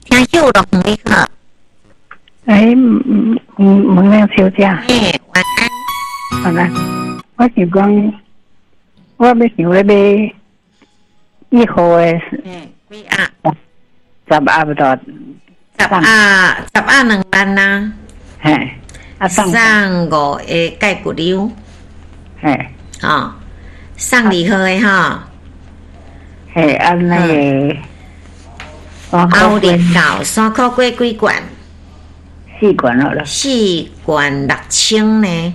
聽秀龍你好。哎，孟玲小姐。嘿，晚安。晚安。我想講，我欲想欲買一號的。嗯，幾盒？十盒不到。十盒，十盒2萬啊。嘿。啊送。送五個蓋骨溜。嘿。哦，送二號的吼。嘿，啊那個。後日到山苦瓜幾罐？四罐好了。四罐6000呢？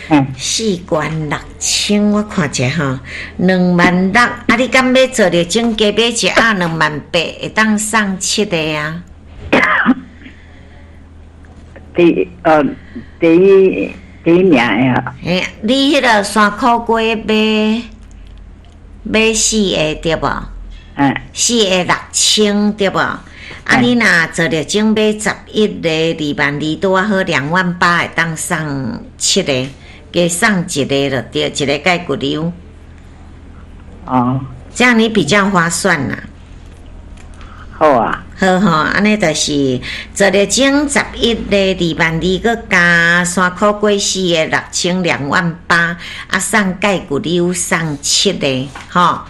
嗯。四罐六千，我看一下吼，2萬6。啊，你敢欲做著種加買一盒2萬8，會當送七個啊？第一名的。嘿，你彼个山苦瓜買買四个對無？嗯。四个六千對無？啊，你若做著種買11個2萬2，拄仔好2萬8，會當送七个，加送一个就對，一个蓋骨溜。哦。這樣你比較划算啦。好啊。好吼，按呢就是做著種11個2萬2，閣加山苦瓜四个六千2萬8，啊送蓋骨溜送七個，吼。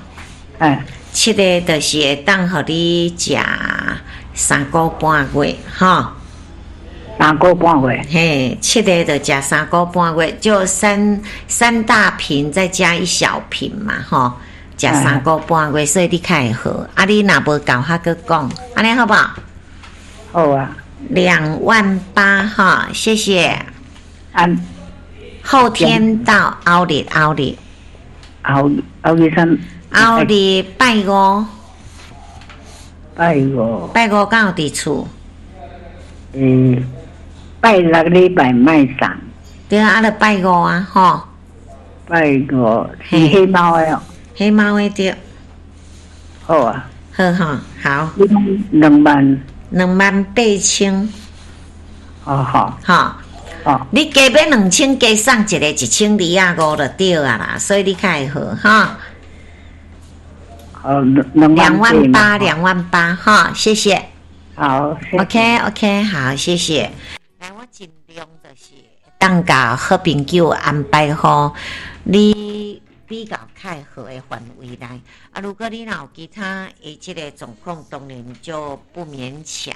嗯。七个就是會當予你食3個半月，吼。三個半月。嘿，七个就食三個半月，就三大瓶再加一小瓶嘛，吼，食三個半月，所以你較會好。啊，你若無夠，還閣講，按呢好無？好啊。2萬8哈，謝謝。啊。後天到後日，後日。後日三。後日拜五。拜五。拜五敢有佇厝？嗯，拜六禮拜莫送。對啊，啊，就拜五啊，吼。拜五是黑貓的哦。黑貓的對。好啊。好吼，好。2萬。2萬8千。哦好。吼。哦。你加買2000，加送一個1250就對啊啦，所以你較會好哈。好，2萬8，2萬8，哈，謝謝。好，OK OK，好，謝謝。來，我盡量就是當共好朋友安排好你比較較好的範圍內。啊，如果你若有其他的這个狀況，當然就不勉強。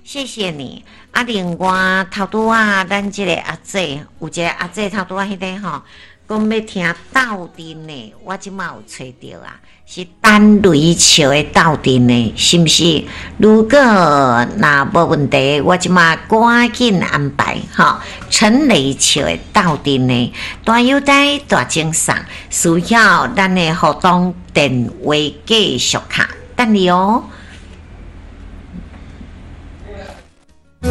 謝謝你。啊，另外頭拄仔咱這个阿姐，有一个阿姐頭拄仔彼个吼，講欲聽鬥陣的，我這馬有揣著啊，是陳雷笑的鬥陣的，是毋是？如果若無問題，我這馬趕緊安排吼。陳雷笑的鬥陣的，大優待大贈送，需要咱的活動電話繼續敲，等你哦。